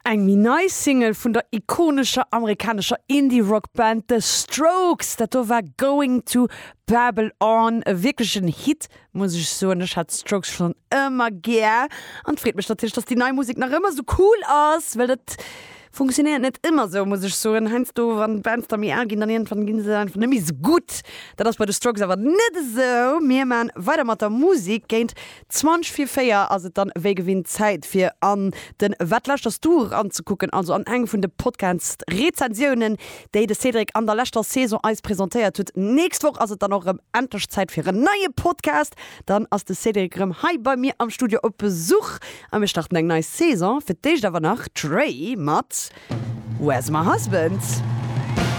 Eng méi nei Single vun der ikonescher amerikanescher Indie-Rock-Band The Strokes. Dat do war Going to Babylon. E wierklechen Hit, muss ech soen. Ech hat d'Strokes schonn ëmmer gär an et freet mech natierlech, dass déi nei Musek nach ëmmer esou cool ass, well dat funktionéiert net ëmmer esou, muss ech soen. Heiansdo, wann d'Bands da méi al ginn, dann iergendwann gi se einfach net méi esou gutt. Dat ass bei The Strokes awer net esou. Mir man weider mat der Musek. Géint 20 vir 4 ass et dann wéi gewinnt Zäit fir an den Wat lauschters du eranzekucken, also an eng vun de Podcast Rezensiounen, déi de Cédric an der leschter Saison eis presentéiert huet. Nächst Woch ass et dann och erëm endlech Zäit fir en neie Podcast. Dann ass de Cédric erëm hei bei mir am Studio op Besuch a mir starten eng nei Saison. Fir d'éischt awer nach d'Raye mat Where's My Husband?